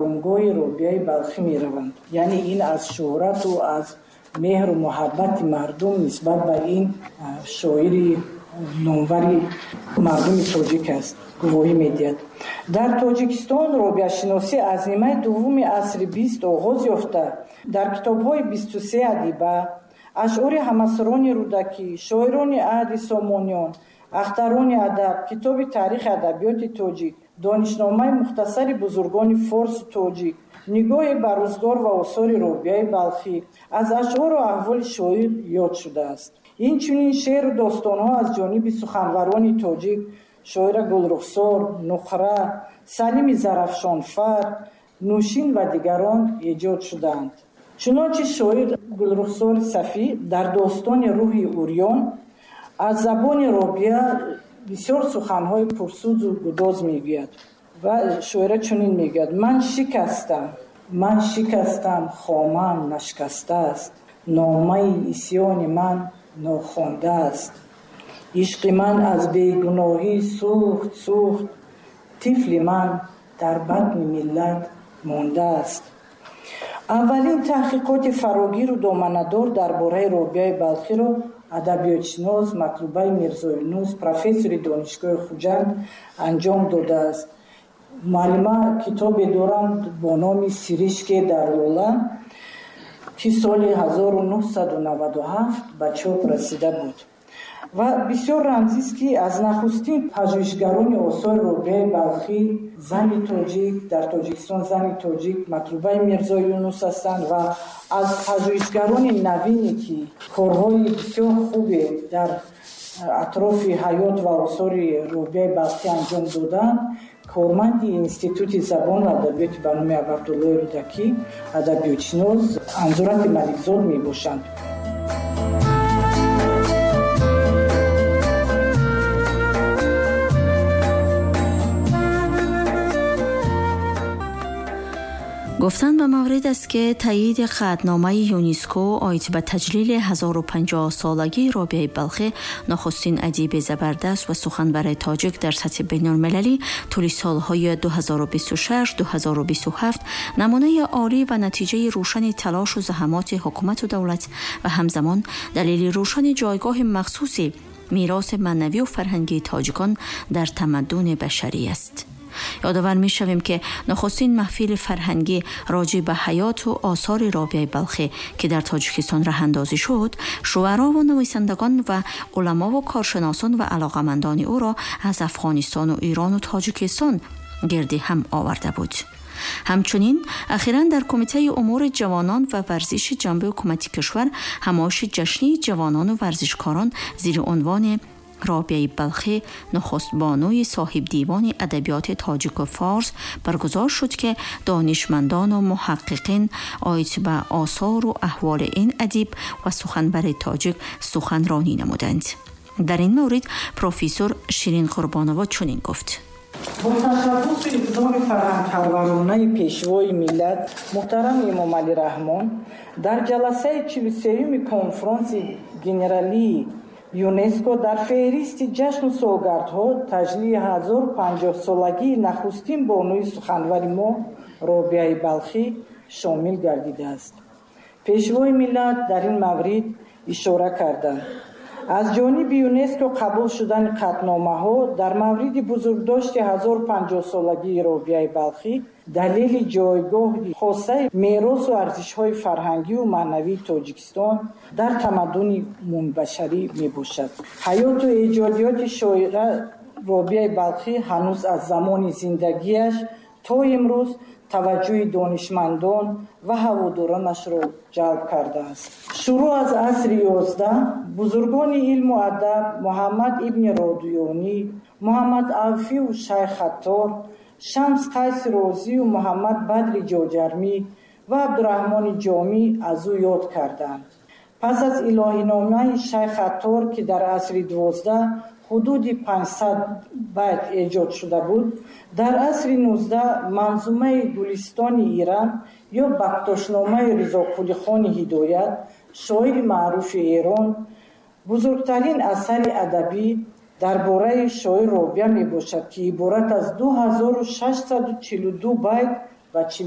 Оромгоҳи Робиаи Балхӣ мераванд. Яъне ин аз шӯҳрату аз меҳру муҳаббати мардум нисбат ба ин шоири номвари мардуми тоҷик аст, гувоҳӣ медиҳад. Дар Тоҷикистон робиашиносӣ аз нимаи дуввуми асри 20 оғоз ёфта, дар китобҳои 23 адиба, ашъори ҳамасрони Рӯдакӣ, шоирони аҳди Сомониён, ахтарони адаб, китоби таърихи адабиёти тоҷик, донишномаи мухтасари бузургони форсу тоҷик, нигоҳе ба рӯзгор ва осори Робиаи Балхӣ аз ашъору аҳволи шоир ёд шудааст. Инчунин шеъру достонҳо аз ҷониби суханварони тоҷик шоира Гулрухсор, Нуқра, Салими Зарафшонфар, Нӯшин ва дигарон эҷод шудаанд. Чунончи шоир Гулрухсори Сафӣ дар достони Рӯҳи урён аз забони Робиа бисёр суханҳои пурсӯзу гудоз мегӯяд ва шоира чунин мегӯяд: ман шикастам, ман шикастам, хомаам нашкастааст, номаи исьёни ман нохондааст, ишқи ман аз бегуноҳӣ сӯхт, сӯхт, тифли ман дар батни миллат мондааст. Аввалин таҳқиқоти фарогиру доманадор дар бораи Робиаи Балхиро адабиётшинос Матлубаи Мирзоюнус, профессори Донишгоҳи Хуҷанд, анҷом додааст. Муаллима китобе доранд бо номи Сиришке дар лола, ки соли 1997 ба чоп расида буд. Ва бисёр рамзист, ки аз нахустин пажӯҳишгарони осори Робиаи Балхӣ, зани тоҷик дар Тоҷикистон, зани тоҷик Матлубаи Мирзоюнус ҳастанд ва аз пажӯҳишгарони навине, ки корҳои бисёр хубе дар атрофи ҳаёт ва осори Робиаи Балхӣ анҷом доданд, корманди Институти забон ва адабиёти ба номи Абуабдуллои Рӯдакӣ, адабиётшинос Анзурати Маликзод мебошанд. Гуфтан ба маврид аст, ки таъйиди қатъномаи ЮНЕСКО оид ба таҷлили 1050-солагии Робиаи Балхӣ, нахустин адиби забардаст ва суханбари тоҷик дар сатҳи байналмилалӣ, тӯли солҳои 2026-2027 намунаи олӣ ва натиҷаи рӯшани талошу заҳамоти ҳукумату давлат ва ҳамзамон далели рӯшани ҷойгоҳи махсуси мероси маънавию фарҳангии тоҷикон дар тамаддуни башарӣ аст. Ёдовар мешавем, ки нахустин маҳфили фарҳангӣ роҷеъ ба ҳаёту осори Робиаи Балхӣ, ки дар Тоҷикистон раҳандозӣ шуд, шуарову нависандагон ва уламову коршиносон ва алоқамандони ӯро аз Афғонистону Ирону Тоҷикистон гирди ҳам оварда буд. Ҳамчунин ахиран дар Кумитаи умури ҷавонон ва варзиши ҷанби ҳукумати кишвар ҳамоиши ҷашнии ҷавонону варзишкорон зери унвони Робиаи Балхӣ, нахустбонуи соҳибдивони адабиёти тоҷику форс баргузор шуд, ки донишмандону муҳаққиқин оид ба осору аҳволи ин адиб ва суханбари тоҷик суханронӣ намуданд. Дар ин маврид профессор Ширин Қурбонова чунин гуфт: бо ташаббусу иқдоми фарҳангпарваронаи Пешвои миллат муҳтарам Эмомалӣ Раҳмон дар ҷаласаи 43-юми Конфронси генералии ЮНЕСКО дар феҳристи ҷашну солгардҳо таҷлили 1050-солагии нахустин бонуи суханвари мо Робиаи Балхӣ шомил гардидааст. Пешвои миллат дар ин маврид ишора карданд: аз ҷониби ЮНЕСКО қабул шудани қатъномаҳо дар мавриди бузургдошти 1050-солагии Робиаи Балхӣ далели ҷойгоҳи хосаи меросу арзишҳои фарҳангию маънавии Тоҷикистон дар тамаддуни умумибашарӣ мебошад. Ҳаёту эҷодиёти шоира Робиаи Балхӣ ҳанӯз аз замони зиндагиаш то имрӯз таваҷҷӯҳи донишмандон ва ҳаводоронашро ҷалб кардааст. Шурӯъ аз асри 11 бузургони илму адаб Муҳаммад ибни Родуёнӣ, Муҳаммад Авфию Шайх Аттор, Шамс Қайси Розию Муҳаммад Бадри Ҷоҷармӣ ва Абдураҳмони Ҷомӣ аз ӯ ёд карданд. Пас аз илоҳиномаи Шайх Аттор, ки дар асри 12 ҳудуди 500 байт эҷод шуда буд, дар асри 19 манзумаи Гулистони Ирам ё Бактошномаи Ризоқулихони Ҳидоят, шоири маъруфи Эрон, бузургтарин асари адабӣ дар бораи шоир Робиа мебошад, ки иборат аз 2642 байт Ва 42.